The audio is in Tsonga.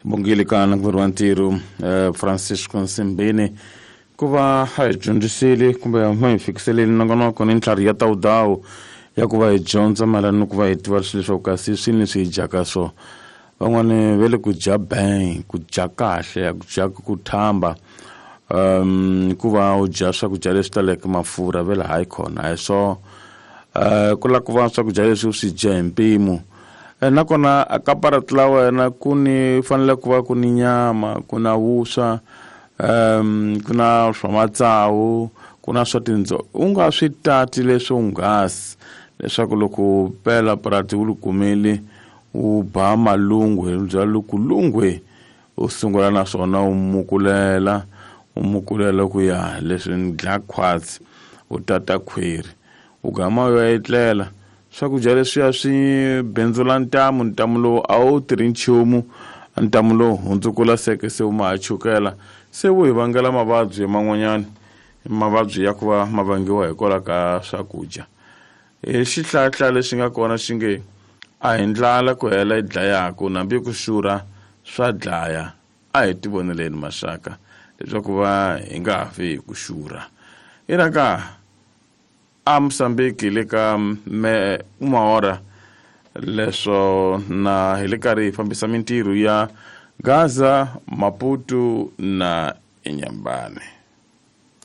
Bongile ka nanguveri wa ntirho Francisco Nsimbini ku va a hi dyondzisile kumbe ma hi fikiseleni nongonoko ni ntlhari ya tawudawu ya ku va hi dyondza mayelana ni ku va hi tiva swilo leswaku kasi swini leswi hi dyaka swo. Van'wani va le ku dya bang, ku dya kahle, ku dya ku thamba, ku va u dya swakudya leswi taleke mafurha ve le hayi khona a hi swo. Ku lava ku va swakudya leswi u swi dya hi mpimo. Nakona a ka parati la wena ku ni fanele ku va ku ni nyama, ku na vuswa, ku na swa matsawu, ku na swa tindzo. U nga swi tati leswonghasi leswaku loko pela parati u li kumile u ba malungwe, u byela loko lungwe u sungula na swona u mukulela, u mukulela ku ya leswi ni dlaya khwatsi, u tata khwiri, u gama u ya etlela. Swakudya leswiya swi bindzula ntamu, ntamu lowu a wu tirhi nchumu, ntamu lowu hundzukula seke se wu ma ha chukela, se wu hi vangela mavabyi man'wanyana, mavabyi ya ku va ma vangiwa hikwalaho ka swakudya. Hi xihlahla lexi nga kona xi nge a hi ndlala ku hela yi dlayaku, nambi ku xurha swa dlaya. A hi tivoneleni maxaka leswaku va hi nga fi hi ku xurha. I raka a Mozambique le ka me Umahora leswo na hi le karhi hi fambisa mintirho ya Gaza, Maputo na Inhambane.